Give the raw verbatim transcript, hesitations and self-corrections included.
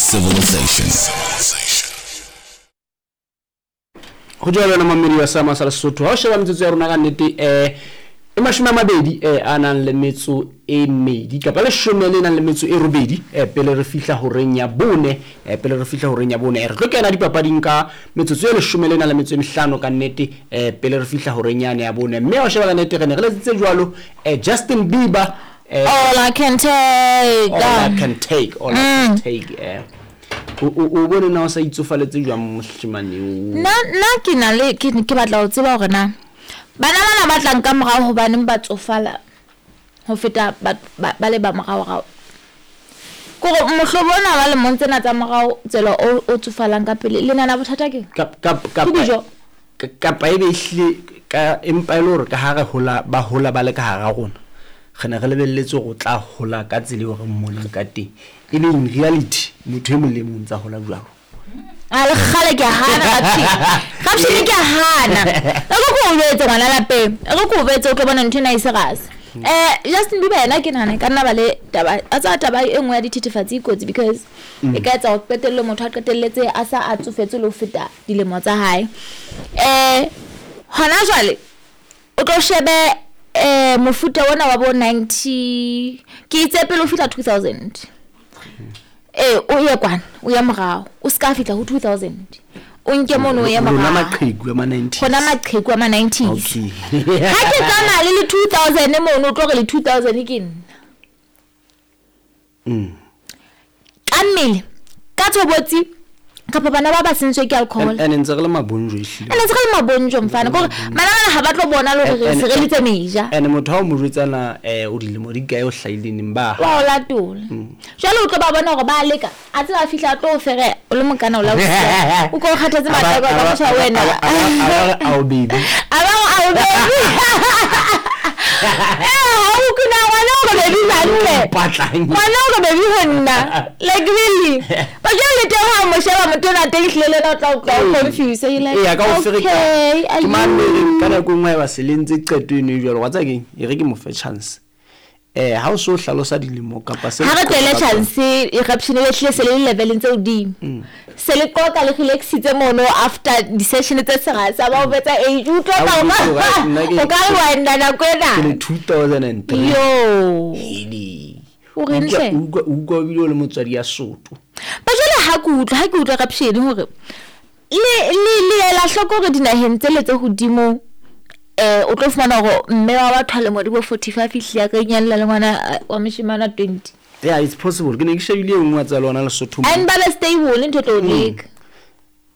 Civilization. Ho jwalo wena mamedi wa Sama sa Lesotho, ha o sheba metsotso ya rona ka nnete um e mashome a mabedi um a nang le metso e mmedi kapa leshome le nang le metso e robedi um pele re fihla horeng ya bone, um pele re fihla horeng ya bone. Eh, re tlo kena dipapading ka metsotso e leshome le nang le metso e mehlano ka nnete um pele re fihla horeng yane ya bone. Mme ha o sheba ka nnete re ne re letsitse jwalo um Justin Bieber, eh, All I can take. All I can take, all I can take. Eh o o o bone na o sa itsofaletse jwang moshemane o? Nna nna ke na le ke ke batla ho tseba hore na bana bana ba tlang ka morao hobaneng ba tsofala ho feta ba ba ba le ba moraorao. Kore mohlobo ona wa lemong tsena tsa morao tsela o o tsofalang ka pele le nana bothata ke Kap- kap- ke kapa dijo. ka- kapa e be ehlile ka empa e le hore ka ha re hola, ba hola ba le ka hara rona, re ne re lebelletse hore o tla hola ka tsela eo re mmoneng ka teng, e le in reality motho e mong le e mong o ntsa hola jwalo. A le kgale ke a hana Rapshini. Rapshini ke a hana. E re ko o jwetse ngwana lapeng. E re ko o jwetse o tlo bona ntho ena e se rase. Eh Justin Bieber yena ke nahana e ka nna ba le taba a tsa taba e nngwe ya dithethefatsi e kotsi because e ka etsa hore qetellong motho a qetelletse a sa a tsofetse le ho feta dilemo tsa hae. Eh hona jwale o tlo shebe eh mofuta ona wa bo ninety ke itse pele o fihla two thousand. Eh o ye kwana, o ye morao, o ska fihla ho two thousand. O nke mono o ye Rona morao. Maqheku a ma nineties. Rona maqheku a ma nineties. Okay. Ha ke tsamaya le le two thousand mono, o tlo re le two thousand ke nna. Mm. Ka mmele, ka tshobotsi, kapa bana ba ba sentswe ke alcohol. And ntse re le mabonjo ehlile. Ene ntse re le mabonjo mfana, kore bana bana ha ba tlo bona le hore re And- se re litse meja. And motho ha o mo jwetsa na eh o dilemo di kae o hlahile neng ba Wa o latola. Jwale o tlo ba bona hore ba leka, a tseba a fihla a tlo o fereya, o le mokana o la o siya. O ko o kgathetse matheka ka motjha wena. A ba re ao baby. A ba re ao baby. Eh, ha o kuna ngwana o re baby hantle. Mpatlang. Ngwana o re baby ho nna. Like really. Ba jwale le teng ha o mo sheba motho ona teng ehlile le yena o tla o tla o confuse. You're like, Ee, a ka o ferekana. okay, are Ke you mane ka nako e nngwe ha eba se le ntse qeto eno e jwalo, wa tseba keng? E re ke mo fe chance. Eh ha o so hlalosa dilemo kapa se Ha re le tlohele qoqa ka tsona. chance, eruption e hlile se le leveleng tse hodimo. Se le qoqa le relaxitse mono after di-session tse serasa, ba o betsa age, o utlwa Ha ka o o utlwa ka hore nna ke- o ka re wa nna nako ena. Ke le two thousand and three. Yo. Hele. O reng Utlwa- hle? utlwa utlwa ebile o le motswadi ya soto. Ba jwale ha ke utlwa, ha ke utlwa Rapshini hore le le le ela hloko hore dinaheng tsele tse hodimo, eh o tlo fumana hore mme wa batho a lemo di bo forty-five ehlile a ka inyalla le ngwana, eh, wa moshemane wa twenty. Yeah, it's possible. Ke ne ke shebile e nngwe wa tsa lona Lesotho mo. And ba be stable ntho e tlo o leka.